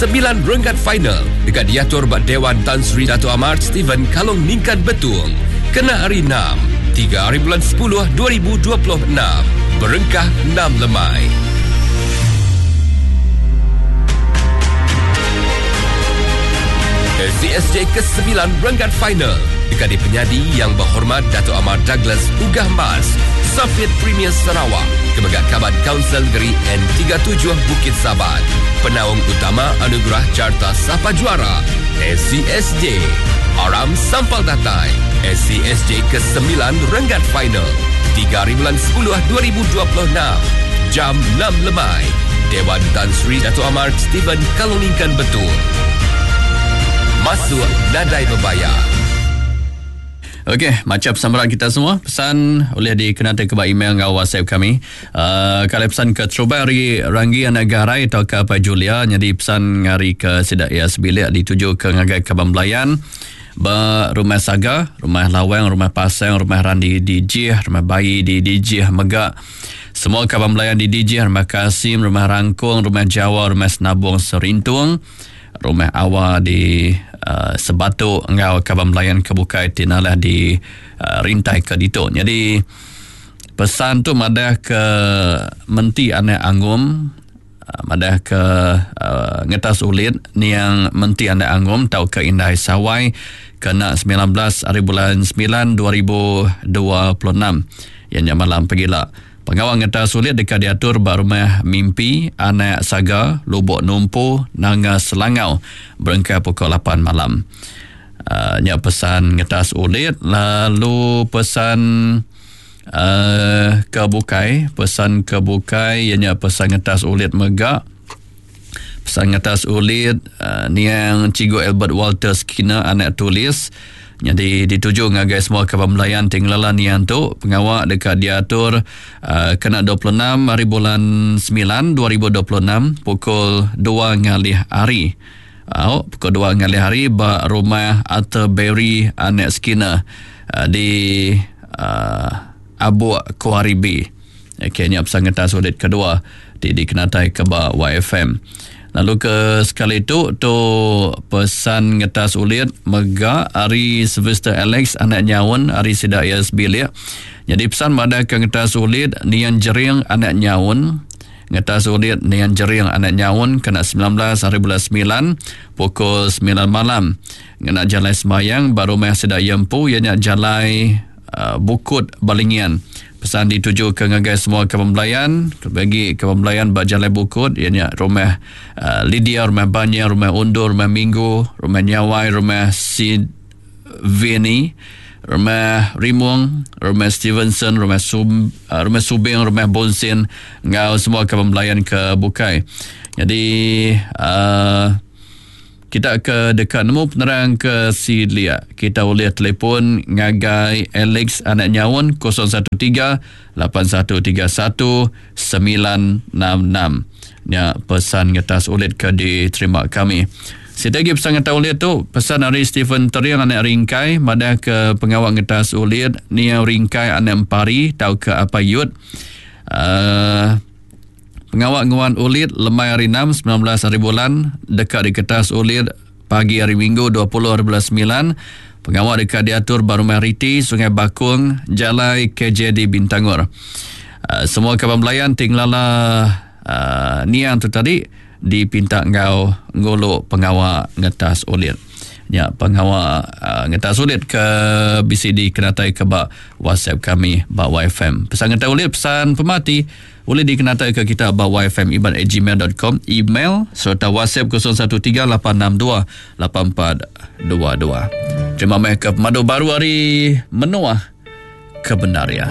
ke-9 renggat final deka diatur ba Dewan Tan Sri Dato Amar Stephen Kalong Ningkan Betung kena hari Enam, 3 hari bulan 10 2026 berengkah 6 lemai. SCSJ ke-9 renggat final deka dipenyadi Yang Berhormat Dato Amar Douglas Uggah Mas, Sapit Premier Sarawak, ke mega Kaban Kaunsil Negeri N37 Bukit Saban. Penaung utama Anugerah Carta Sapa Juara SCSJ. Aram Sampal Datai SCSJ ke-9 renggat final 3 hari bulan 10 2026 jam 6 lemai. Dewan Tan Sri Dato Amar Stephen Kaloningkan Betul. Masuk nadai berbayar. Okey, macam pesan kita semua, pesan boleh dikenakan ke email dengan WhatsApp kami. Kalau pesan ke Terubai hari Ranggi Anak Garai atau ke Pak Julia, jadi pesan hari ke Sidak Ya Sebilik dituju ke Ngagai Kabang Belayan, ba Rumah Saga, Rumah Lawang, Rumah Pasang, Rumah Randi di Jih, Rumah Bayi di Dijih Megak. Semua Kabang Belayan di Dijih, Rumah Kasim, Rumah Rangkung, Rumah Jawa, Rumah Senabung Serintung, Rumah Awa di Sebatu enggau Kabang Belayan ke bukai ti nalah di rintai ke ditu. Jadi pesan tu madah ke menti anak angum, madah ke ngetas ulit niang menti anak angum tau ke indai sawai kena 19 hari bulan 9 2026. Yang nya malam pegila. Pengawal ngetas ulit dekat diatur ba rumah mimpi anak Saga Lubok Numpu Nanga Selangau berengkah pukul 8 malam. Nya pesan ngetas ulit lalu pesan ke bukai, pesan ke bukai ianya pesan ngetas ulit mega. Pesan ngetas ulit niang Cikgu Albert Walter Skinner anak tulis. Jadi dituju ngagai semua kaban belayan ti ngelala niang tu pengawa dekat diatur kena 26 hari bulan 9 2026 pukul 2 ngalih hari. Au, pukul 2 ngalih hari ba rumah Arthur Berry anak Skinner di Abuk Kuaribi. Okey, nya pesan ngetas ulit kedua ti dikenatai ke ba YFM. Lalu ke sekali tu tu pesan ngetas ulit mega ari Sylvester Alex anak nyaun ari sida ia sebilik. Jadi pesan madah ke ngetas ulit nian jering anak nyaun. Ngetas ulit nian jering anak nyaun kena 19 hari bulan 9 pukul 9 malam. Ngena jalai semayang ba rumah sida ia empu ianya jalai Bukut Balingian. Pesan dituju ke ngagai semua kaban belayan, bagi kaban belayan ba Jalai Bukut ianya rumah Lydia, rumah Banya, rumah Undur, rumah Minggu, rumah Nyawai, rumah Sidvini, rumah Rimung, rumah Stevenson, rumah Sum, rumah Subing, rumah Bonsin enggau semua kaban belayan ke bukai. Jadi kita ke deka nemu penerang ke silik, kita ulih telefon ngagai Alex anak nyaun 013 8131 966. Nya pesan ngetas ulit ke diterima kami. Siti agi pesan ngetas ulit tu, pesan ari Stephen Tering anak Ringkai madah ke pengawa ngetas ulit niau Ringkai anak Empari tauka Apai Yut. Pengawa nguan ulit lemai hari 6, 19 hari bulan deka diketas ulit pagi hari Minggu 20 hari bulan 9. Pengawa deka diatur ba Rumah Riti, Sungai Bakung, Jalai KJD Bintangor. Semua kaban belayan ti ngelala niang tu tadi dipinta enggau ngulu pengawa ngetas ulit. Nya pengawa ngetas ulit ke bisi dikenatai ke ba WhatsApp kami ba YFM. Pesan ngetas ulit, pesan pemati boleh dikenatai ke kita ba yfmiban@gmail.com, email serta WhatsApp 0138628422. Terima kasih ke pemadu baru hari Menoah kebenar ya.